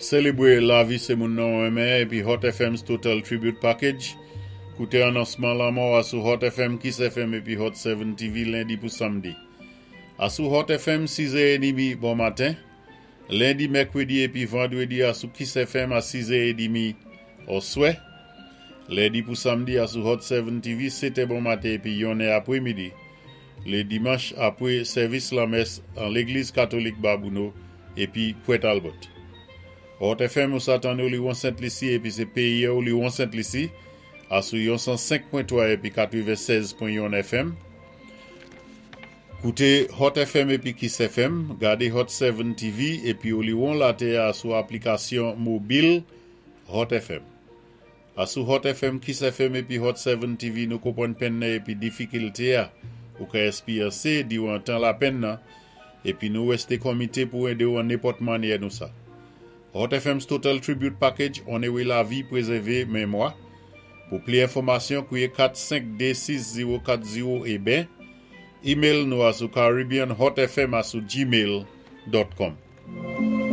Sélébwé lavi sé moun nou renmen épi Hot FM's Total Tribute Package. Kouté anonsman lanmò asou Hot FM, Kiss FM épi Hot 7 TV lendi pou samdi. Asou Hot FM 6h30 bon maten. Lendi, mèkwédi épi vandwédi asou Kiss FM a 6h30 oswè. Lendi pou samdi asou Hot 7 TV 7 bon maten épi 1 apwémidi. Lé dimanch apwé sèvis lanmès an Légliz Katolik Babouno épi Port Albert. Hot FM ou sa tann Oliwon Sent Lisi épi sé péyi Oliwon Sent Lisi asou 105.3 épi 96.1 FM. Kouté Hot FM épi Kiss FM, gadé Hot 7 TV épi Oliwon Latè asou aplikasyon mobil Hot FM. Asou Hot FM, Kiss FM épi Hot 7 TV nou konpwann penn nan épi difikilté a ou ka èspéryansé diwan tan lapenn nan épi nou wèsté konmité pou édé-w an nenpòt mannyè nou sa. Hot FM's Total Tribute Package onoré lavi pwézèvé mémwa. Pou pli enfòmasyon, kwiyé 4526040 é ben, email nou asou caribbeanhotfm@gmail.com.